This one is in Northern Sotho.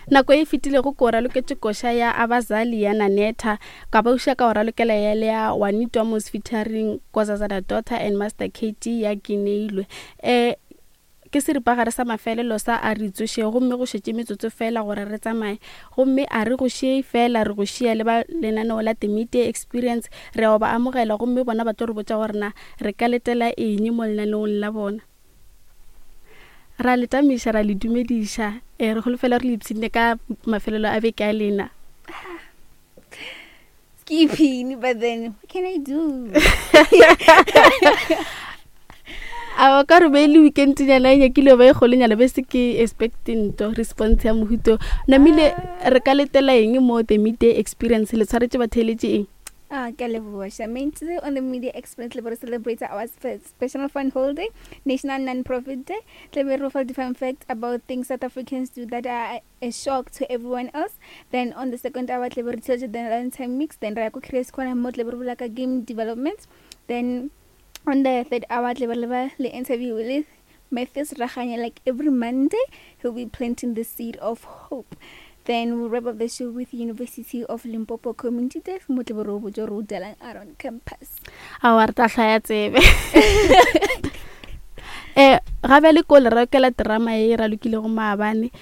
Nako e fetilego ko raloketše koša ya Abazali ya Nanetha, ka ba uša ka go ralokela ya le ya Juanito Amos featuring Kozazana Daughter and Master KG ya Gineilwe. Eh, ke seripagare sa mafelelo sa a re tsoše gomme go šetše metsotso fela gore re tsamaye gomme a re go šie fela re go šia le ba lenaneo la The Media Experience re a ba amogela gomme bona ba tlo re botša gore na re ka letela eng mo lenaneong la bona. Ra le tamiša ra le dumediša e re holofela re le ipshinne ka mafelelo a beke a lena. Skipping, but then what can I do? A ka re be le weekend nyana e nyakile ba e kgolonyana be se ke expecting to response ya mohuto namile re ka letela eng mo the midday experience le tshwaretše batheeletše eng? Ah, ke a leboha Charmaine. Today on the Media Experience, le celebrate our special fund holiday, National Non-Profit Day. Tla be re fa different facts about things South Africans do that are a shock to everyone else. Then on the second hour, tla be re theletša the Lunchtime Mix. Then ra ya ko Curious Corner mo tla be re bolela ka game development. Then on the third hour, tla be re leba le interview with Matthews Raganya. Like every Monday, he'll be planting the seed of hope. Then we'll wrap up the show with University of Limpopo Community Desk mo tla be re o botša gore o delang around campus. Aowa re tla hlaya tsebe. Eh, ga bjale ko le rekela terama e ralokilego maabane.